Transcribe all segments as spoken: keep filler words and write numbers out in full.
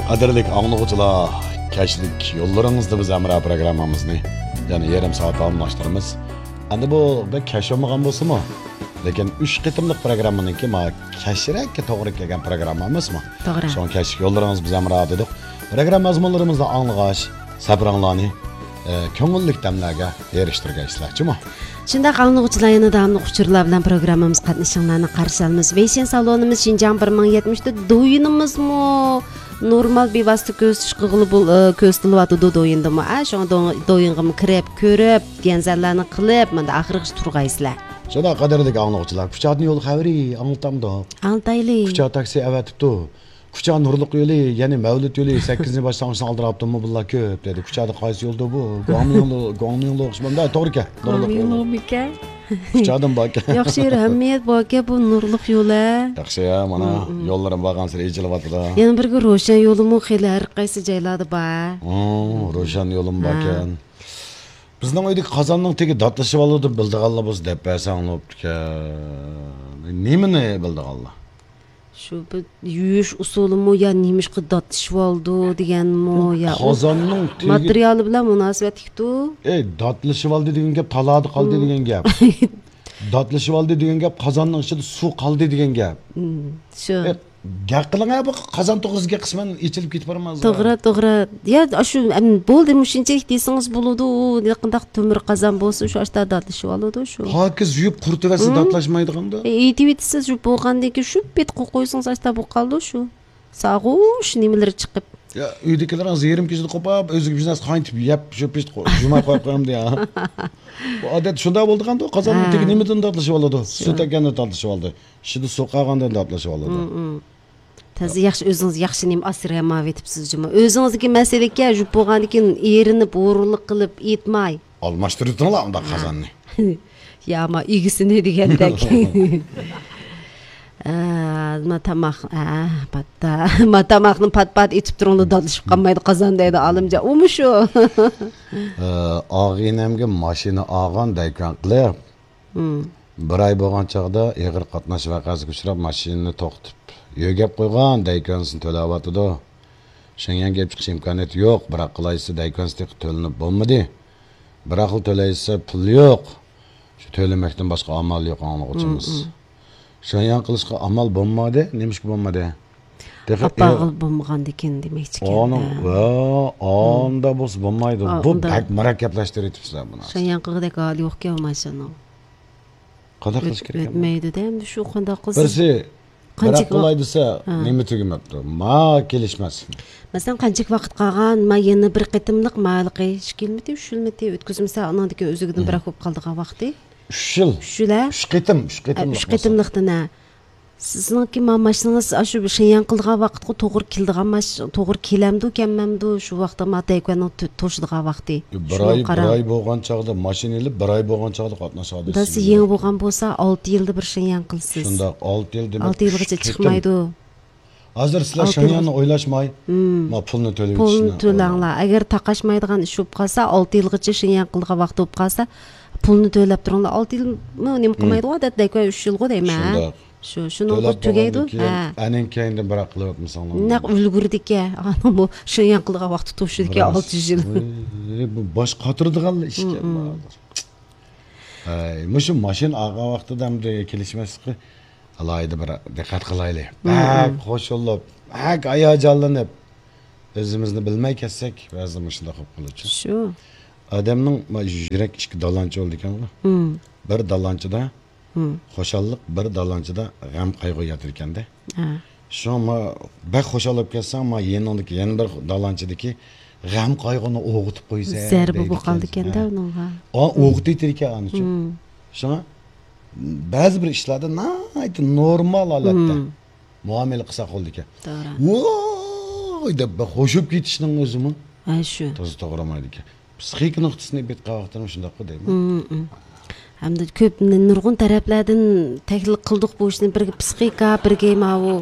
قەدىرلىك ئاڭلىغۇچىلار، كەچلىك يوللىرىڭىزدا بىز ھەمراھ پروگراممىمىزنى يەنە يېرىم سائەت داۋاملاشتۇرىمىز. ئەمدى بۇ بەك كەچ بولمىغان بولسىمۇ، لېكىن ئۈچ قېتىملىق پروگراممىنىڭكى ما كەچرەككە توغرا كەلگەن پروگرامما ئەمەسمۇ؟ توغرا. شۇڭا كەچلىك يوللىرىڭىز بىز ھەمراھ دېدۇق. پروگرامما مەزمۇنلىرىمىزنى ئاڭلىغاچ، سەپىرىڭلارنى، ئە، كۆڭۈللۈك دەملەرگە ئېرىشتۈرگەيسىلەر، جۇمۇ. شۇنداق ئاڭلىغۇچىلار، يەنە داۋاملىق ئۇچۇرلار بىلەن پروگراممىمىزغا قاتنىشىڭلارنى قارشى ئالىمىز. ۋېيشىن سالونىمىز شىنجاڭ بىر مىڭ يەتمىش تۆت دويىنىمىزمۇ نورمال بىۋاسىتە كۆزىتىش قىلغىلى بول-، ئە، كۆزىتىلىۋاتىدۇ دويىندىمۇ. ئە، شۇڭا دو-، دويىنغىمۇ كىرىپ، كۆرۈپ، گەنزەنلەرنى قىلىپ، مانا ئاخىرغىچە تۇرغايسىلەر. شۇنداق، قەدىرلىك ئاڭلىغۇچىلار، كۇچادىن يول خەۋىرى ئاڭلىتامدۇق؟ ئاڭلىتايلى. كۇچا تاكسى ئەۋەتىپتۇ. كۇچا نۇرلۇق يولى، يەنى مەۋلۇت يولى، سەككىزىنچى باشلانغۇچنى ئالدىراپتۇممۇ بۇلار كۆپ دېدى. كۇچادا قايسى يولدۇ بۇ؟ گۇاڭمىڭلۇ، گۇاڭمىڭلۇ ئوخشىمامدا؟ توغرا ئىكەن. نۇرلۇق يولى. گۇاڭمىڭلۇمىكەن؟ كۇچادىن باركەن. ياخشى يېرى ھەممە يەردە باركەن بۇ نۇرلۇق يولى. ياخشى يا، مانا يوللىرىم بارغانسېرى ئېچىلىۋاتىدۇ. يەنە بىرگە روشەن يولىمۇ خېلى ھەر قايسى جايلاردا بار. روشەن يولىمۇ باركەن. بىزنىڭ ئۆيدىكى قازاننىڭ تېگى داتلىشىۋالىدۇ، بىلىدىغانلار بولسا دەپ بەرسەڭ بوپتىكەن. نېمىنى بىلىدىغانلار؟ شۇ بىر يۇيۇش ئۇسۇلىمۇ يا نېمىشقا داتلىشىۋالىدۇ دېگەنمۇ يا ئۇ قازاننىڭ تېگى ماتېرىيالى بىلەن مۇناسىۋەتلىكتۇ. ئەي، داتلىشىۋالدى دېگەن گەپ تالادا قالدى دېگەن گەپ. داتلىشىۋالدى دېگەن گەپ قازاننىڭ ئىچىدە سۇ قالدى دېگەن گەپ. شۇ. ئەي، گەپ قىلىڭ ھە، بۇ قازان توغرىسىدىكى قىسمەن ئېچىلىپ كېتىپ بارماز. توغرا، توغرا. يا، شۇ، ئەم، بولدى، مۇشۇنچىلىك دېسىڭىز بولىدۇ، نېقىنداق تۆمۈر قازان بولسۇن، شۇ ئاشتا داتلىشىۋالىدۇ شۇ. پاكىز يۇيۇپ قۇرۇتۇۋەتسە داتلاشمايدىغاندا. ئېيتىۋېتىسىز، شۇ بولغاندىن كېيىن شۇ پېتى قويۇپ قويسىڭىز، ئاشتا بولۇپ قالىدۇ شۇ. ساغۇش نېمىلىرى چىقىپ. يا، ئۆيدىكىلىرىڭىز يېرىم كېچىدە قوپاپ، ئۆزىگە بىر نەرسە قاينىتىپ يەپ، شۇ پېتى قو-، جۇماپ قويۇپ قويامدۇ يا. بۇ ئادەت شۇنداق بولىدىغاندۇ، قازاننىڭ تېگى نېمىدىن داتلىشىۋالىدۇ؟ سۇ تەگكەندىن داتلىشىۋالىدۇ. ئىچىدە سۇ قالغاندىن داتلىشىۋالىدۇ. تازا ياخشى، ئۆزىڭىز ياخشى نېمە ئاسرىيالمايۋېتىپسىز جۇمۇ. ئۆزىڭىزدىكى مەسىلە ئىكەن، يۇيۇپ بولغاندىن كېيىن ئېرىنىپ، ھۇرۇنلۇق قىلىپ ئېيتماي. ئالماشتۇرۇۋېتىڭلار ئۇنداق قازاننى. يا، ما ئىگىسىنى دېگەندەك. ئە، ما تاماق، ئە، پاتتا. ما تاماقنى پات-پات ئېتىپ تۇرۇڭلار، داتلىشىپ قالمايدۇ قازان دەيدۇ ئالىمجان. ئۇمۇ شۇ. ئە، ئاغىنەمگە ماشىنا ئالغان دەيكان قىلىپ. بىر ئاي بولغان چاغدا ئېغىر قاتناش ۋەقەسىگە ئۇچراپ، ماشىنىنى توختىتىپ، يۆگەپ قويغان دەيكانسىنى تۆلەۋاتىدۇ. شېڭيەنگە ئېلىپ چىقىش ئىمكانىيىتى يوق، بىراق قىلايسا دەيكانسى تېخى تۆلىنىپ بولمىدى. بىراقلا تۆلەيسە پۇل يوق. شۇ تۆلىمەكتىن باشقا ئامال يوق ئاڭلىغۇچىمىز. شېڭيەن قىلىشقا ئامال بولمىدى. نېمىشقا بولمىدى؟ تېخى ئاپارغىلى بولمىغاندىكىن دېمەكچىكەن. ئانا، ۋە، ئاندا بولسا بولمايدۇ. بۇ بەك مۇرەككەپلەشتۈرۈۋېتىپسىلەر بۇنى. شېڭيەن قىلغۇدەك ھالى يوقكەن ماشىنىنىڭ. قانداق قىلىش كېرەك؟ ئۆتمەيدۇ-دە، ئەمدى شۇ قانداق قىلسا. بىرسى، بىراق قىلاي دېسە، نېمە تۈگىمەپتۇ؟ ما كېلىشمەس. مەسىلەن، قانچىلىك ۋاقىت قالغان؟ ما يەنە بىر قېتىملىق، ما ھېلىقى ئىككى يىلمىتى، ئۈچ يىلمىتى ئۆتكۈزمىسە، ئانىڭدىكى ئۆزىگىدىن بىراق بولۇپ قالىدىغان ۋاقتى. ئۈچ يىل. ئۈچ يىل، ھە؟ ئۈچ قېتىم، ئۈچ قېتىملىق ئۈچ بولسا. قېتىملىقتىن، ھە. سىزنىڭكى ما ماشىنىڭىز ئاشۇ شېڭيەن قىلىدىغان ۋاقىتقا توغرا كېلىدىغان ماش-، توغرا كېلەمدۇ، كەلمەمدۇ؟ شۇ ۋاقىتتا ما دەيكاننىڭ تۆ-، توشىدىغان ۋاقتى. بىر ئاي، بىر ئاي بولغان چاغدا ماشىنا ئېلىپ، بىر ئاي بولغان چاغدا قاتناش ھادىسىسى. داسى يېڭى بولغان بولسا، ئالتە يىلدا بىر شېڭيەن قىلىسىز. شۇنداق، ئالتە يىل دېمەك، ئالتە يىلغىچە چىقمايدۇ. ھازىر سىلەر شېڭيەننى ئويلاشماي، ما پۇلنى تۆلەپ، پۇلنى تۆلەڭلار. ئەگەر تاقاشمايدىغان ئىش بولۇپ قالسا، ئالتە يىلغىچە شېڭيەن قىلىدىغان ۋاقتى بولۇپ قالسا، پۇلنى تۆلەپ تۇرۇڭلار. ئالتە يىلمۇ نېمە قىلمايدىغۇ، ئادەتتە دەيكان ئۈچ يىلغۇ دەيمەن. شۇنداق. شۇ، شۇنىڭغا تۈگەيدۇ. ھە. ئەنىڭ كەينىدىن بىراق قىلىۋاتمىساڭلار. نەق ئۈلگۈردىكەن. ئانىڭ بۇ شېڭيەن قىلىدىغان ۋاقتى توشىدىكەن، ئالتە يۈز يىل. ۋاي، بۇ باش قاتۇرىدىغان ئىشكەن بۇ ھازىر. ھەي، مۇشۇ ماشىنا ئالغان ۋاقتىدا ئەمدى كېلىشمەسلىكى ئالاھىدە بىر دىققەت قىلايلى. بەك خوش بولۇپ، بەك ھاياجانلىنىپ، ئۆزىمىزنى بىلمەي كەتسەك، بەزىدە مۇشۇنداق بولۇپ قالىدۇ. شۇ. ئادەمنىڭ ما يۈرەك ئىككى دالانچە بولىدىكەنغۇ. بىر دالانچىدا خۇشاللىق، بىر دالانچىدا غەم قايغۇ ياتىدىكەندە. ھە. شۇڭا ما بەك خۇشال بولۇپ كەتسەڭ، ما يېنىڭدىكى يەنە بىر دالانچىدىكى غەم قايغۇنى ئويغىتىپ قويىسەن. زەربە بولۇپ قالىدىكەندە ئۇنىڭغا. ئويغىتىۋېتىدىكەن ئانىچۇ. شۇڭا بەزى بىر ئىشلاردا ناھايىتى نورمال ھالەتتە مۇئامىلە قىلساق بولىدىكەن. توغرا. ۋوي دەپ بىر خوشۇپ كېتىشنىڭ ئۆزىمۇ ھە، شۇ. تازا توغرىمايدىكەن. پسىخىكا نۇقتىسىدىن ئېيتقان ۋاقتىدا شۇنداققۇ دەيمەن. ھەمدە كۆپ، نۇرغۇن تەرەپلەردىن تەھلىل قىلدۇق بۇ ئىشنى. بىرگە پسىخىكا، بىرگە ماۋۇ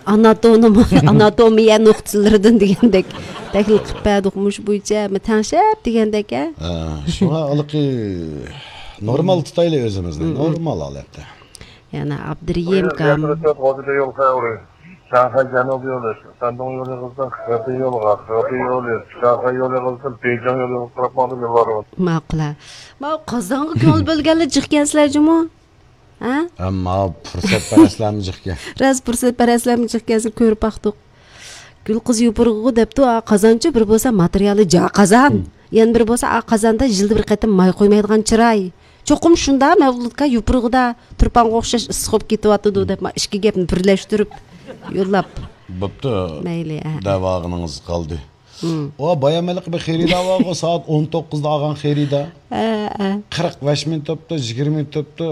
ئاناتوم-، ئاناتومىيە نۇقتىلىرىدىن دېگەندەك تەھلىل قىلىپ بەردۇق. مۇشۇ بويىچە تەڭشەپ دېگەندەك، ھە؟ ھە، شۇڭا ھېلىقى نورمال تۇتايلى ئۆزىمىزنى. نورمال ھالەتتە. يەنە ئابدۇرېھىم كام. شاڭخەي جەنۇبىي يولى، شەندۇڭ يولى قىزدىن خېبېي يولىغا، خېبېي يولى، شاڭخەي يولى قىزدىن بېيجىڭ يولىغا قاراپ ماڭدىم يوللاردا. ماقۇل ھە. ماۋۇ قازانغا كۆڭۈل بۆلگەنلەر جىقكەنسىلەر جۇمۇ؟ ھە؟ ئەمما پۇرسەتپەرەسلەرمۇ جىقكەن. راست پۇرسەتپەرەسلەرمۇ جىقكەنسىلەر كۆرۈپ باقتۇق. گۈل قىز يوپۇرغىغۇ دەپتۇ، ئا، قازانچۇ بىر بولسا ماتېرىيالى جا قازان. يەنە بىرى بولسا، ئا، قازاندا يىلدا بىر قېتىم ماي قۇيمايدىغان چىراي. چوقۇم شۇندا مەۋلۇتكا يوپۇرغىدا تۇرپانغا ئوخشاش ئىسسىق بولۇپ كېتىۋاتىدۇ دەپ، ما ئىككى گەپنى بىرلەشتۈرۈپ يوللاپ. بوپتۇ. مەيلى، ئە. دەۋاغىنىڭىز قالدى. ھىم. ئۇ بايام ھېلىقى بىر خېرىدار بارغۇ، سائەت ئون توققۇزدا ئالغان خېرىدار. ئە، ئە. قىرىق بەش مىڭ تېپىپتۇ، يىگىرمە مىڭ تېپىپتۇ.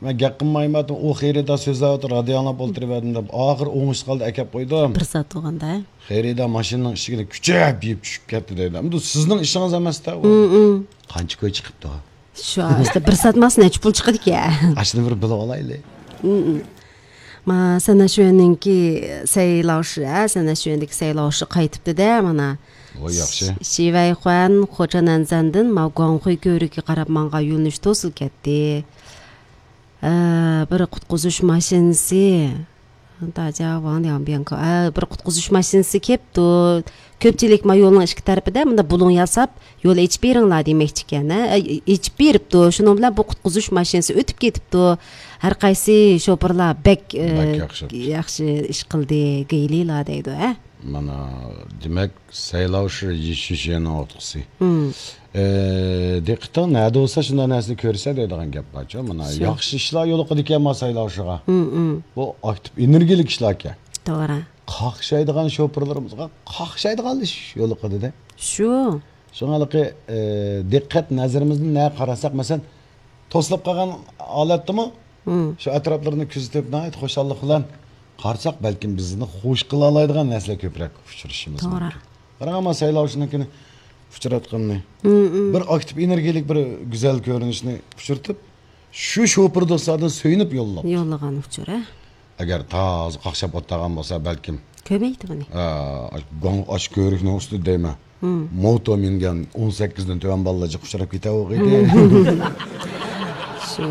مەن گەپ قىلمايمەن، ئۇ خېرىدار سۆزلەۋاتىدۇ، رادىيو ئاڭلاپ ئولتۇرۇۋەردىم دەپ، ئاخىرى ئوڭۇشلۇق ھالدا ئەكەپ قويدۇم. بىر سائەت بولغاندا. خېرىدار ماشىنىنىڭ ئىشىكىنى كۈچەپ يېپىپ چۈشۈپ كەتتى دەيدۇ. ئەمدى سىزنىڭ ئىشىڭىز ئەمەس-تە ئۇ. ھىم، ھىم. قانچە كوي چىقىپتۇ؟ شۇ، ئىشتە بىر سائەت ماسىنا نەچچە پۇل چىقىدىكەن؟ ئاشۇنى بىر بىلىپ ئالايلى. ھىم، ھىم. ما، سەنەشۈەننىڭكى سەيلاۋشى، ھە، سەنەشۈەندىكى سەيلاۋشى قايتىپتۇ-دە، مانا. ۋاي، ياخشى. شىۋەيخۇەن خوچانەنزەندىن ماۋ گۇاڭخۇي كۆۋرۈكىگە قاراپ ماڭغان يۆنىلىش توسۇلۇپ كەتتى. ئە، بىر قۇتقۇزۇش ماشىنىسى. داجا ۋاڭ لياڭ بياڭ كاۋ. ئە، بىر قۇتقۇزۇش ماشىنىسى كەپتۇ. كۆپچىلىك ما يولنىڭ ئىككى تەرىپىدە مۇنداق بۇلۇڭ ياساپ، يول ئېچىپ بېرىڭلار دېمەكچىكەن، ھە؟ ئېچىپ بېرىپتۇ. شۇنىڭ بىلەن بۇ قۇتقۇزۇش ماشىنىسى ئۆتۈپ كېتىپتۇ. ھەر قايسى شوپۇرلار بەك، ئە، بەك ياخشى. ياخشى ئىش قىلدى، گېيلىلا دەيدۇ، ھە؟ مانا، دېمەك، سەيلاۋشى يىشىشيەننىڭ ئوتقىسى. ھىم. ئە، دىققىتىڭ نەدە بولسا، شۇنداق نەرسىنى كۆرىسەن دەيدىغان گەپ بارچۇ. مانا، شۇ. ياخشى ئىشلار يولۇقىدىكەن ما سەيلاۋشىغا. ھىم، ھىم. بۇ ئاكتىپ ئېنېرگىيىلىك ئىشلاركەن. توغرا. قاقشايدىغان شوپۇرلىرىمىزغا قاقشايدىغان ئىش يولۇقىدى-دە. شۇ. شۇڭا ھېلىقى، ئە، دىققەت نەزىرىمىزنى نەگە قاراتساق، مەسىلەن، توسۇلۇپ قالغان ھالەتتىمۇ، ھىم. شۇ ئەتراپلىرىنى كۆزىتىپ، ناھايىتى خۇشاللىق بىلەن قارىساق، بەلكىم بىزنى خۇش قىلالايدىغان نەرسىلەر كۆپرەك ئۇچرىشىمىز توغرا. مۇمكىن. قاراڭ، ئەمما سەيلاۋشىنىڭكىنى ئۇچراتقىنىنى. ھىم، ھىم. بىر ئاكتىپ ئېنېرگىيىلىك، بىر گۈزەل كۆرۈنۈشنى ئۇچرىتىپ، شۇ شوپۇر دوستلاردىن سۆيۈنۈپ يوللاپتۇ. يوللىغان ئۇچۇر، ھە؟ ئەگەر تازا قاقشاپ ئولتۇرغان بولسا، بەلكىم. كۆرمەيدۇ بۇنى. ئا، ئاش، گوڭ-، ئاش كۆۋرۈكنىڭ ئۈستىدە دەيمەن. ھىم. موتو مىنگەن ئون سەككىزدىن تۆۋەن بالىلار جىق ئۇچراپ كېتەۋاتىدۇ. شۇ.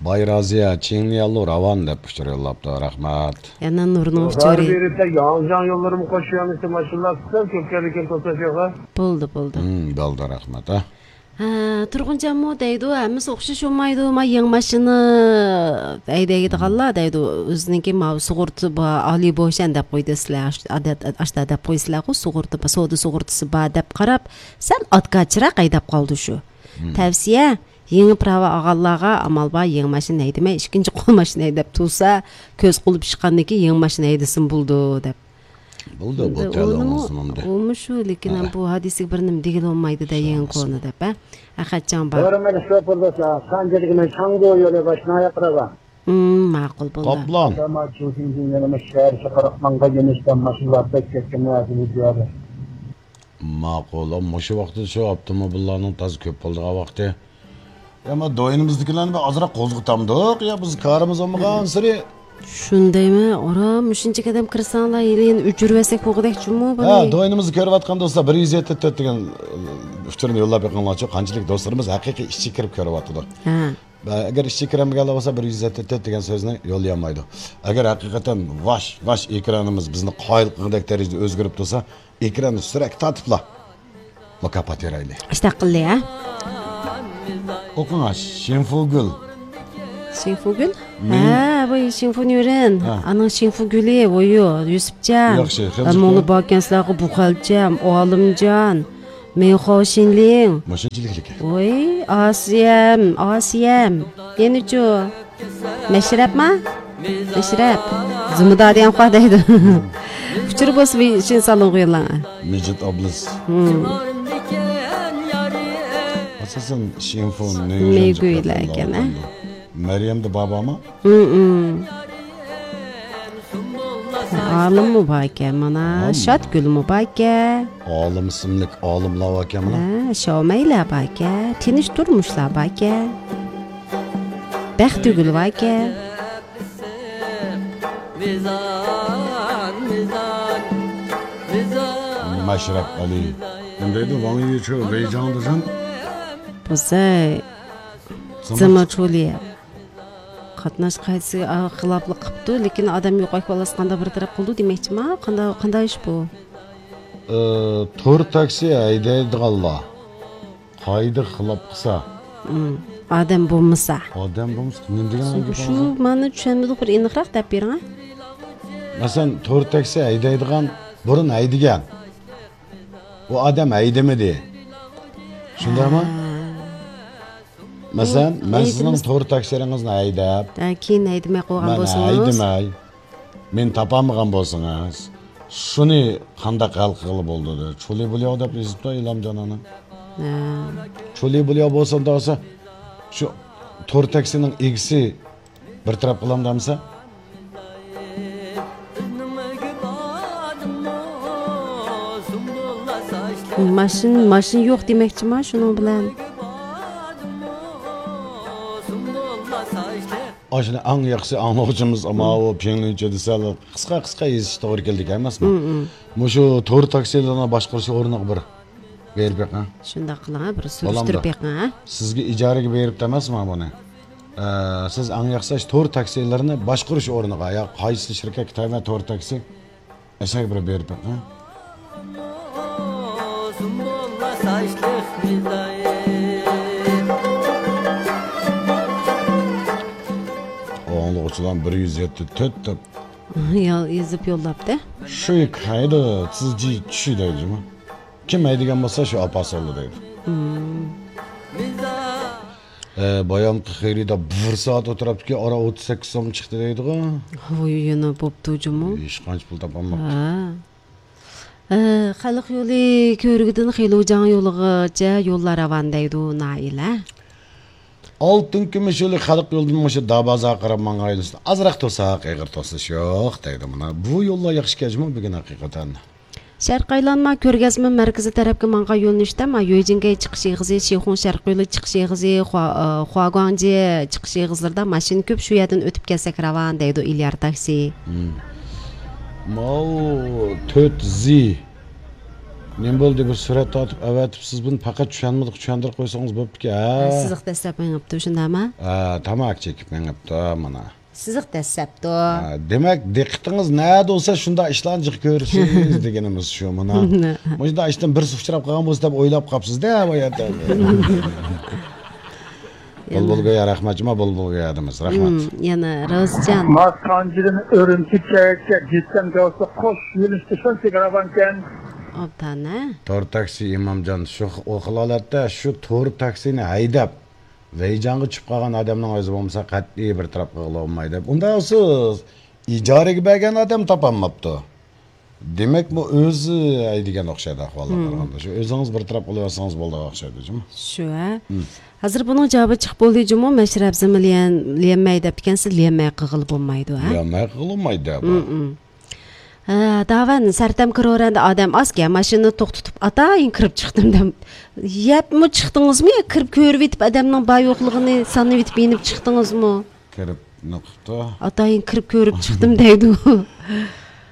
باي رازىيە، چىڭليالۇ راۋان دەپ ئۇچۇر يوللاپتۇ. رەھمەت. يەنە نۇرنىڭ ئۇچۇرى. بېرىپ ياڭجاڭ يوللىرىمۇ قوشۇپ يۈرمىسە، ماشىنىلار قىسقا كۆپ كەلدىكەن توساشىغا. بولدى، بولدى. ھىم، بولدى، رەھمەت، ھە. ھە، تۇرغۇنجانمۇ دەيدۇ، ھەممىسى ئوخشاش بولمايدۇ، ما يېڭى ماشىنا ھەيدەيدىغانلار دەيدۇ، ئۆزىنىڭكى ماۋۇ سۇغۇرتىسى بار، ئالىي بوشەن دەپ قويدى سىلەر، ئاشتا دەپ قويسىلەرغۇ، سۇغۇرتا، سودا سۇغۇرتىسى بار دەپ قاراپ، سەل ئاتكاچىراق ھەيدەپ قالدى شۇ. مم. تەۋسىيە، يېڭى پىراۋا ئالغانلارغا ئامال بار، يېڭى ماشىنا ھەيدىمەي، ئىككىنچى قول ماشىنا ھەيدەپ تۇرسا، كۆز قۇلۇپ ئىشقاندىن كېيىن يېڭى ماشىنا ھەيدىسىمۇ بولىدۇ دەپ. بولدى، بۇ ئەمدى تەلەي ئۇنىمۇ، ئوڭسۇنۇمدى. ئۇمۇ شۇ، لېكىن ھە. بۇ ھادىسىگە بىر نېمە دېگىلى بولمايدۇ-دە، شۇ يېڭى ئەمەس. كونا دەپ، ھە؟ ئەخەتجان بار. ھۆرمەتلىك شوپۇر دوستلار، سانجى دېگىنى شاڭگۇ يولى باشىنىڭ ئاياقلىرىغا. ھىم، ماقۇل بولدى. قاپلان. شەھەر چاقىرىق ماڭغان يۆنىلىشتە ماشىنىلار بەك كەتكەن ھازىر بۇ يەردە. ماقۇل، مۇشۇ ۋاقىتتا شۇ ئاپتوموبىللارنىڭ تازا كۆپ بولىدىغان ۋاقتى. يا، ما دوينىمىزدىكىلەرنى بىر ئازراق قوزغىتامدۇق، يا بىز كارىمىز بولمىغانسېرى. شۇندايمۇ؟ ئارام، مۇشۇنچە ئادەم كىرسەڭلار، ھېلى يەنە ئۆچۈرۈۋەتسەك بولغۇدەك جۇمۇ بۇنى. ھە، دوينىمىزنى كۆرۈۋاتقان دوستلار، بىر يۈز يەتتە تۆت دېگەن، ئۇچۇرنى يوللاپ بېقىڭلارچۇ، قانچىلىك دوستلىرىمىز ھەقىقىي ئىشچى كىرىپ كۆرۈۋاتىدۇ. ھە. ئەگەر ئىشچى كىرەلمىگەنلەر بولسا، بىر يۈز يەتتە تۆت دېگەن سۆزنى يوللىيالمايدۇ. ئەگەر ھەقىقەتەن ۋاش، ۋاش ئېكرانىمىز بىزنى قايىل قىلغۇدەك دەرىجىدە ئۆزگىرىپ تۇرسا، ئېكراننى سۈرەتكە تارتىپلا مۇكاپات بېرەيلى. ئىشتاق قىلدى، ھە؟ ئوقۇڭا، شىنفۇگۈل. شىنفۇگۈل؟ مىڭ- ھە، بۇ شىنفۇنيۈرېن. ھە. ئانىڭ شىنفۇگۈلى، ۋويۇ، يۈسۈپجان. ياخشى، خېلى ئەمما ئۇنى باركەنسىلەرغۇ بۇخەلچەم، ئالىمجان، مىڭخاۋ شىنلىڭ. ماشىنىچىلىكلىكى. ۋوي، ئاسىيەم، ئاسىيەم. يەنىچۇ؟ مەشرەپما؟ مەشرەپ. زۇمۇدا دېگەن خوا دەيدۇ. ئۇچۇر بولسا بىر شىن سالونغا يوللاڭ. مىجىت ئابلىز. ھىم. ئاساسەن شىنفۇ مېگۈيلەر ئىكەن، ھە؟ مەريەمدە بابامۇ؟ ھىم، ھىم. ئالىممۇ باركەن مانا، ئالىم. شاتگۈلمۇ باركەن. ئالىم ئىسىملىك ئالىملار باركەن مانا. ھە، شاۋمەيلەر باركەن، تىنچ تۇرمۇشلار باركەن. بەختىگۈل باركەن. مەشرەپ ئەلى. ئەمدى ۋاڭ يىچۇ ۋېيجاڭدىسەن. بۇزەي. زىمىچۇلى. قاتناش قائىدىسىگە، ئا، خىلاپلىق قىپتۇ، لېكىن ئادەم يوقاش بالاسى قانداق بىر تەرەپ قىلىدۇ دېمەكچىما؟ قانداق، قانداق ئىش بۇ؟ ئى، تور تاكسى ھەيدەيدىغانلار قائىدىگە خىلاپ قىلسا. ئادەم بولمىسا. ئادەم بولمىسا، نېمە دېگەن گەپ شۇ؟ مانا چۈشەنمىدۇق، بىر ئېنىقراق دەپ بېرىڭ، ھە؟ مەسىلەن، تور تاكسى ھەيدەيدىغان، بۇرۇن ھەيدىگەن. ئۇ ئادەم ھەيدىمىدى. شۇنداقمۇ؟ ھە. مەسىلەن، مەن سىزنىڭ تور تاكسىلىرىڭىزنى ھەيدەپ، ھە، كېيىن ھەيدىمەي قويغان بولسىڭىز. مەن ھەيدىمەي، مېنى تاپالمىغان بولسىڭىز، شۇنى قانداق ھەل قىلغىلى بولىدۇ دەپ، چۇلى بۇلياۋ دەپ يېزىپتۇ ئىلھامجان ئانا. ھە. چۇلى بۇلياۋ بولسا، ئۇنداق بولسا، شۇ تور تاكسىنىڭ ئىگىسى بىر تەرەپ قىلامدۇ ئەمسە؟ ماشىنا، ماشىنا يوق دېمەكچىما شۇنىڭ بىلەن؟ ئاشۇنى ئەڭ ياخشى ئاڭلىغۇچىمىز، ئەمما ئۇ پىڭلىنچە دېسە، قىسقا، قىسقا يېزىشتا توغرا كېلىدىكەن ئەمەسمۇ؟ مۇشۇ تور تاكسىلارنى باشقۇرۇش ئورنىغا بىر بېرىپ بېقىڭ. شۇنداق قىلىڭ، بىر سۈرۈشتۈرۈپ بېقىڭ، ھە؟ سىزگە ئىجارىگە بېرىپتۇ ئەمەسمۇ بۇنى؟ ئە، سىز ئەڭ ياخشى تور تاكسىلىرىنى باشقۇرۇش ئورنىغا يا قايسى شىركەتكە تەۋە تور تاكسى، ئەشەگە بىر بېرىپ بېقىڭ. ئاڭلىغۇچىلار بىر يۈز يەتتە تۆت دەپ. يا، يېزىپ يوللاپتۇ. شۇ ھەيدە سىز جى چۈشى دەيدۇ. كىم ھەيدىگەن بولسا شۇ ئاپا سالدى دەيدۇ. ئە، بايامقى خېرىدا بىر سائەت ئولتۇراپتىكەن، ئارا ئوتتۇز سەككىز سوم چىقتى دەيدىغۇ. ۋوي، يەنە بوپتۇ جۇمۇ. ھېچقانچە پۇل تاپالماپتۇ. ھە. ئە، خەلق يولى كۆۋرۈكىدىن خېلۇجاڭ يولىغىچە يوللار راۋان دەيدۇ نائىلە. ئالتۇن كۈمۈش يولى خەلق يولىدىن مۇشۇ دابازارغا قاراپ ماڭغان يولىسىدا ئازراق توساق، ئېغىر توسۇش يوق دەيدۇ مانا. بۇ يوللار ياخشى كەلدىمۇ بۈگۈن ھەقىقەتەن. شەرقىي ئايلانما كۆرگەزمە مەركىزى تەرەپكە ماڭغان يۆنىلىشتە ما يۆجىڭگەي چىقىش ئېغىزى، شىخۇڭ شەرقىي يولى چىقىش ئېغىزى، خۇا-، ئە، خۇاگۇاڭجې چىقىش ئېغىزلىرىدا ماشىنا كۆپ، شۇ يەردىن ئۆتۈپ كەلسەك راۋان دەيدۇ ئىليار تاكسى. ماۋۇ تۆت زى. نېمە بولدى؟ بىر سۈرەت تارتىپ ئەۋەتىپ، سىز بۇنى پەقەت چۈشەنمىدۇق، چۈشەندۈرۈپ قويسىڭىز بوپتىكەن، ھە؟ سىزىق دەسسەپ مېڭىپتۇ، شۇنداقمۇ؟ ھە، تاماكا چېكىپ مېڭىپتۇ، مانا. سىزىق دەسسەپتۇ. ھە، دېمەك، دىققىتىڭىز نەدە بولسا، شۇنداق ئىشلارنى جىق كۆرىسىز دېگىنىمىز شۇ، مانا. مۇشۇنداق ئىشتىن بىرسى ئۇچراپ قالغان بولسا دەپ ئويلاپ قاپسىز-دە، بۇ يەردە. بۇلبۇل گويا، رەھمەت جۇما، بۇلبۇل گويادىمىز، رەھمەت. مم، يەنە روزىجان. ما سانجىدىن ئۈرۈمچىگىچە جىسەم جاۋسى قوش يۆنىلىشتە شۇنچىلىك راۋانكەن. ئوبدان، ھە؟ تور تاكسى ئىمامجان، شۇ، ئۇ خىل ھالەتتە شۇ تور تاكسىنى ھەيدەپ، ۋەيجانغا چۈشۈپ قالغان ئادەمنىڭ ئۆزى بولمىسا، قەتئىي بىر تەرەپ قىلغىلى بولمايدۇ. ئۇنداق بولسا، ئىجارىگە بەرگەن ئادەم تاپالماپتۇ. دېمەك، بۇ ئۆزى ھەيدىگەن ئوخشايدۇ ئەھۋالغا قارىغاندا. شۇ ئۆزىڭىز بىر تەرەپ قىلىۋەتسىڭىز بولىدىغان ئوخشايدۇ، جۇمۇ. شۇ، ھە. ھازىر بۇنىڭ جاۋابى چىقىپ بولدى، جۇمۇ. مەشرەپ زىمى ليەن-، ليەنمەي دەپتىكەنسىز، ليەنمەي قىلغىلى بولمايدۇ، ھە. ليەنمەي قىلغىلى بولمايدۇ، بۇ. ھە، داۋەن، سەرتەم كىرىۋەرەندە ئادەم ئازكەن، ماشىنىنى توختىتىپ، ئاتايىن كىرىپ چىقتىم دەم. يەپمۇ چىقتىڭىزمۇ يا كىرىپ كۆرۈۋېتىپ، ئادەمنىڭ بار يوقلۇقىنى سانىۋېتىپ يېنىپ چىقتىڭىزمۇ؟ كىرىپ نېمە قىپتۇ؟ ئاتايىن كىرىپ كۆرۈپ چىقتىم دەيدۇ.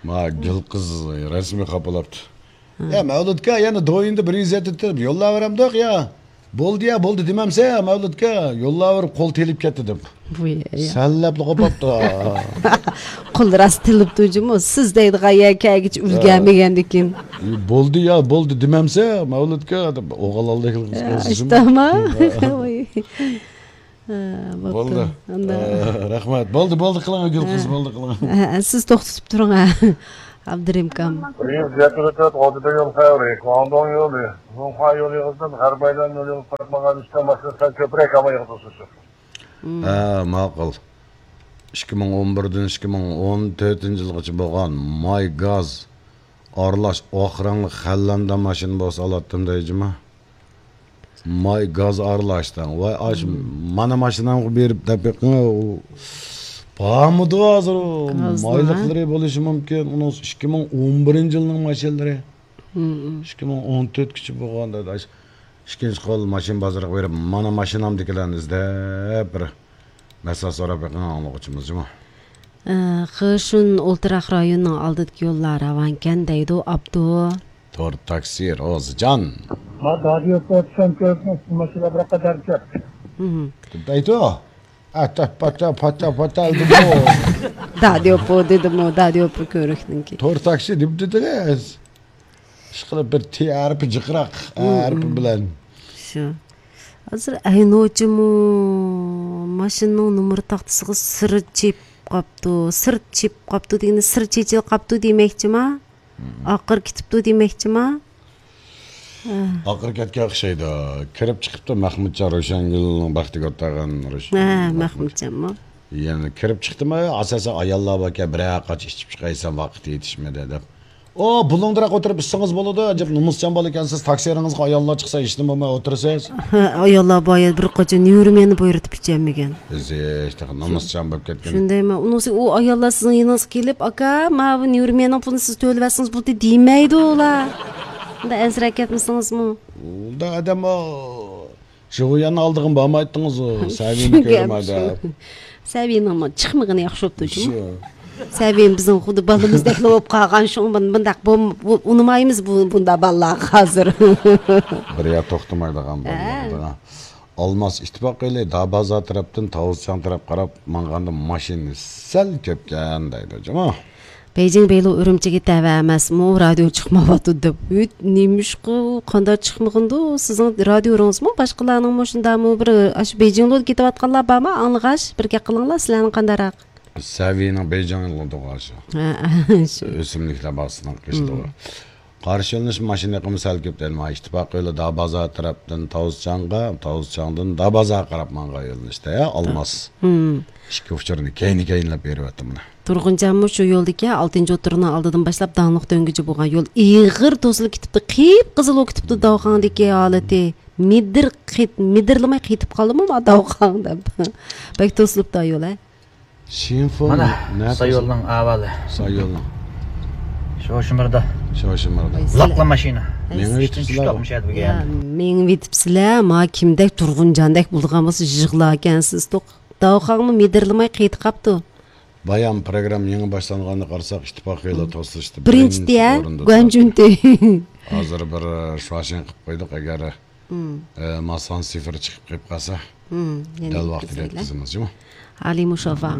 ما گۈل قىز رەسمىي خاپىلاپتۇ. يا مەۋلۇتكا يەنە دويۇندا بىر يۈز يەتتە تېرىپ يوللاۋېرەمدۇق يا. بولدى يا، بولدى دېمەمسە يا مەۋلۇتكا، يوللاۋېرىپ قول تېلىپ كەتتى دەپ. بۇ يا، يا. سەنلەپلا قوپاپتۇ. قول راست تېلىپتۇ جۇمۇ، سىز دەيدىغان يەر كەلگۈچە ئۈلگەرمىگەندىكىن. بولدى يا، بولدى دېمەمسە يا مەۋلۇتكا دەپ ئوغۇل ئالدى قىلغان. ۋاي. ھە، بوپتۇ. بولدى. ئەمدى. ئە، رەھمەت. بولدى، بولدى قىلىڭ، گۈل قىز، ھە. بولدى قىلىڭ. ھە، سىز توختىتىپ تۇرۇڭ، ھە. ئابدۇرېھىم ئاكام. بىر يۈز يەتتە تۆت ئوتتۇز يول خەۋىرى، گۇاڭدۇڭ يولى، زۇڭخۇا يولى ئىزىدىن غەربىي ئايلان يولىغا قاتنىغان ئۈچ ماشىنا سەل كۆپرەك ئامال يىغدۇرسۇن. ھە، ماقۇل. ئىككى مىڭ ئون بىردىن ئىككى مىڭ ئون تۆتىنچى يىلغىچە بولغان ماي گاز ئارىلاش ئاق رەڭلىك خەللەندە ماشىنا بولسا ئالاتتىم دەيجىما. ماي گاز ئارىلاشتىڭ. ۋاي، ئاش، مانا ماشىنامغا بېرىپ دەپ بېقىڭ، ئۇ بارمىدۇ ھازىر، ئۇ گازنىڭ، ھە؟ مايلىقلىرى بولۇشى مۇمكىن. ئۇنىڭ ئىككى مىڭ ئون بىرىنچى يىلنىڭ ماشىنىلىرى. مم. ئىككى مىڭ ئون تۆتكىچە بولغان دەيدۇ. ئاش، ئىككىنچى قول ماشىنا بازىرىغا بېرىپ، مانا ماشىنامدىكىلەرنى ئىزدەپ بىر مەسلىھەت سوراپ بېقىڭ ئاڭلىغۇچىمىز جۇمۇ. ئە، خېشۇن ئولتۇراق رايونىنىڭ ئالدىدىكى يوللار راۋانكەن دەيدۇ ئابدۇ. تور تاكسى روزىجان. ما دادىيو پوتسان كۆزنىڭ ماشىنا بىر قەدەر كۆپ. مم. دەيدۇ. ئاتا، پاتا، پاتا، پاتا دېدىمۇ. دادىيوپۇ دېدىمۇ، دادىيوپۇ كۆرۈكنىڭكى. تور تاكسى دېمىدىدىغىز. ئىشقىلىپ بىر تى ھەرپى جىقراق، ئە ھەرپى بىلەن. شۇ. ھازىر ئەينۇچىمۇ ماشىنىنىڭ نومۇر تاختىسىغا سىر چېپىپ قاپتۇ. سىر چېپىپ قاپتۇ دېگىنى سىر چېچىلىپ قاپتۇ دېمەكچىما؟ ئاقىر كېتىپتۇ دېمەكچىما؟ ھە. ئاقىر كەتكەن ئوخشايدۇ. كىرىپ چىقىپتۇ مەخمۇتجان روشەنگۈلنىڭ بەختىگە ئولتۇرغان روش-، ھە، مەخمۇتجانمۇ؟ يەنە كىرىپ چىقتىمۇ، ئاساسەن ئاياللار باركەن، بىرەر قاچا ئىچىپ چىقايسەن، ۋاقىت يېتىشمىدى دەپ. ئو، بۇلۇڭدىراق ئولتۇرۇپ ئىچسىڭىز بولىدۇ، ئەجەب نومۇسچان بالا ئىكەنسىز، تاكسىرىڭىزغا ئاياللار چىقسا ھېچنېمە بولماي ئولتۇرىسىز. ھە، ئاياللار بار يەردە بىر قاچا نېرۋىنى بۇيرۇتۇپ ئىچەلمىگەن. ئىزىش، تېخى نومۇسچان بولۇپ كەتكەن. شۇندايمۇ؟ ئۇنىڭسى ئۇ ئاياللار سىزنىڭ يېنىڭىزغا كېلىپ، «ئاكا، ماۋۇ نېرۋىنىڭ پۇلىنى سىز تۆلىۋەتسىڭىز بولدى» دېمەيدۇ ئۇلار. ئۇنداق ئەنسىرەپ كەتمىسىڭىزمۇ. ئۇنداق ئادەم ئۇ. شۇ يەرنىڭ ئالدىغا بارمايتتىڭىزغۇ، سەۋىينى كۆرمەي دەپ. سەۋىينىڭمۇ چىقمىغىنى ياخشى بوپتۇ جۇمۇ. شۇ. سەۋىيم بىزنىڭ خۇددى بالىمىزدەكلا بولۇپ قالغان، شۇڭا بۇن-، بۇنداق بۇ-، بۇ-، ئۇنىمايمىز بۇ-، بۇنداق بالىلارغا ھازىر. بىر يەر توختىمايدىغان ھە. بالىلار. ئالماس ئىتتىپاق ئېلى دابازار تەرەپتىن تاۋۇزچاڭ تەرەپ قاراپ ماڭغاندا ماشىنا سەل كۆپكەن دەيدۇ جۇمۇ. بېيجىڭ بېيلۇ ئۈرۈمچىگە تەۋە ئەمەسمۇ، رادىيو چىقمايۋاتىدۇ دەپ. ھۆت، نېمىشقا قانداق چىقمىغىندۇ سىزنىڭ رادىيورىڭىزمۇ؟ باشقىلارنىڭمۇ شۇنداقمۇ بىر ئاشۇ بېيجىڭلۇ كېتىۋاتقانلار بارمۇ؟ ئاڭلىغاچ، بىر گەپ قىلىڭلار، سىلەرنىڭ قانداقراق؟ سەۋىينىڭ بېيجىڭلۇدىغۇ شۇ. ھە، شۇ. ئۆسۈملۈكلەر باغچىسىنىڭ قېشىدىغۇ. قارشى يۆنىلىش ماشىنا ئېقىمى سەل كۆپ دەيدۇ. ئىتتىپاق يولى دابازار تەرەپتىن تاۋۇزچاڭغا، تاۋۇزچاڭدىن دابازارغا قاراپ ماڭغان يۆنىلىشتە، ئالماس. ھىم. ئىككى ئۇچۇرنى كەينى-كەينىلەپ بېرىۋەتتىم مانا. تۇرغۇنجانمۇ شۇ يولدىكى، ئالتىنچى ئوتتۇرىنىڭ ئالدىدىن باشلاپ داڭلىق دۆڭگىچە بولغان يول ئېغىر توسۇلۇپ كېتىپتۇ، قىپقىزىل بولۇپ كېتىپتۇ داۋخاڭدىكى ھالىتى. مىدىر قىت-، مىدىرلىماي قېتىپ قالدىمۇ ما داۋخاڭ دەپ. بەك توسۇلۇپتۇ يول، ھە. شىنفۇ مانا، نەدە؟ سايولنىڭ ئەھۋالى. سايولنىڭ. شوشىمىردا. شوشىمىردا. لاقلا ماشىنا. مېڭىۋېتىپسىلەر. يا، مېڭىۋېتىپسىلەر. ما كىمدەك تۇرغۇنجاندەك بولىدىغان بولسا يىغلاركەنسىز توق. داۋخاڭمۇ مىدىرلىماي قېتىپ قاپتۇ. بايام پروگرامما يېڭى باشلانغاننى قارىساق، ئىتتىپاق خېلى توسۇشتا بىرىنچى بىرىنچى ئورۇندا تۇرۇپتۇ. ھازىر بىر شۇاشىڭ قىلىپ قويدۇق، ئەگەر، ئە، ماسان سىفىر چىقىپ قېلىپ قالسا، دەل ۋاقتىدا يەتكۈزىمىز، جۇمۇ. ئالىي مۇشافا.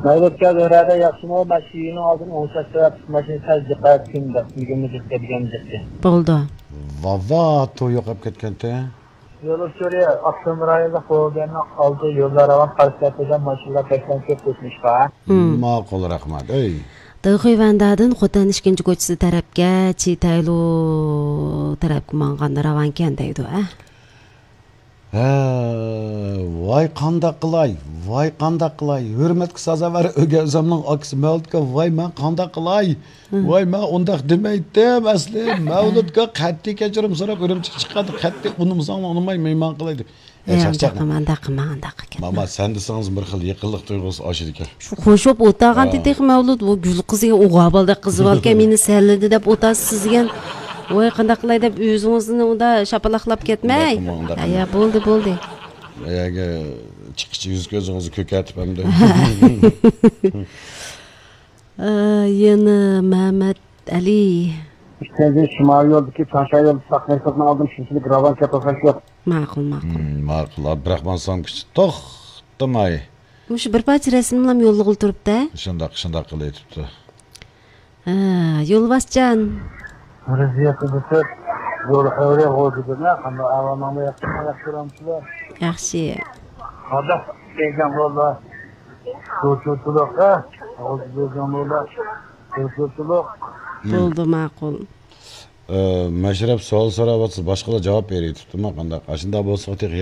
مەۋلۇتكە زۆھرەدە ياخشىمۇ؟ ماشىنىنىڭ ئالدىنى ئوڭشاش تەرەپ ماشىنا سەل جىقايتسۇن دەپ، يىگىرمە جىق دېگەن جىقتى. بولدى. ۋاۋا، تو يوقاپ كەتكەنتى. يول ئۇچۇرى ئاپتونوم رايونلۇق بولغاننىڭ ئالدى يوللار راۋان قارشى تەرەپتە ماشىنىلار بەكلا كۆپ قوشۇلۇشقا. ماقۇل، رەھمەت. ئەي. دېخۇي ۋەندادىن خوتەن ئىككىنچى كوچىسى تەرەپكە، چىتەيلۇ تەرەپكە ماڭغاندا راۋانكەن دەيدۇ، ئە. ھە، ۋاي قانداق قىلاي، ۋاي قانداق قىلاي، ھۆرمەتكە سازاۋەر ئۆگەنزەمنىڭ ئاكىسى مەۋلۇتكە، ۋاي مەن قانداق قىلاي، ۋاي مەن ئۇنداق دېمەيتتىم ئەسلى، مەۋلۇتكە قەتئىي كەچۈرۈم سوراپ ئۈرۈمچىگە چىققاندا قەتئىي ئۇنىمىساڭ ئۇنىماي مېھمان قىلاي دەپ. ئە، ئۇنداق قىلما، ئۇنداق قىلما، ئۇنداق قىلما. ماما، سەن دېسىڭىز بىر خىل يېقىنلىق تۇيغۇسى ئاشىدىكەن. شۇ خوش بولۇپ ئولتۇرغانتى تېخى مەۋلۇت، بۇ گۈل قىزى ئوغۇل بالىدەك قىزىۋالغان، مېنى سەنلىدى دەپ ئولتۇرسىز دېگەن. ۋاي، قانداق قىلاي دەپ ئۆزىڭىزنى ئۇندا شاپىلاقلاپ كەتمەي. ئۇنداق قىلماڭ، ئۇنداق قىلماڭ. ھە، بولدى، بولدى. ئەگەر چىققىچە يۈز كۆزىڭىزنى كۆكەرتىپ ئەمدى. ئە، يەنە مەمەت ئەلى. ئىككىنچى شىمالىي يولدىكى چاڭشا يولى ساق مەركەزنىڭ ئالدىن شۇنچىلىك راۋان كەپ قالسا شۇ. ماقۇل، ماقۇل. ماقۇل. ئابدۇراخمان سامكىچى توختىماي. مۇشۇ بىر پارچە رەسىملەرمۇ يوللىغىلى تۇرۇپتۇ. شۇنداق، شۇنداق قىلىۋېتىپتۇ. ھە، يولۋاسجان. رەزىيەتنى بىتىر. يول خەۋىرى غوجىدىن. قانداق ئەھۋالىڭلار، ياخشىمۇ، ياخشى كۆرەمسىلەر؟ ياخشى. قانداق بەيجاڭ يوللار؟ چۇچۇچىلىق، ھە؟ غوجىدىن يوللار. چۇچۇچىلىق. بولدى، ماقۇل. ئە، مەشرەپ سوئال سوراۋاتسا، باشقىلار جاۋاب بېرىۋېتىپتىما قانداق؟ ئاشۇنداق بولسا تېخى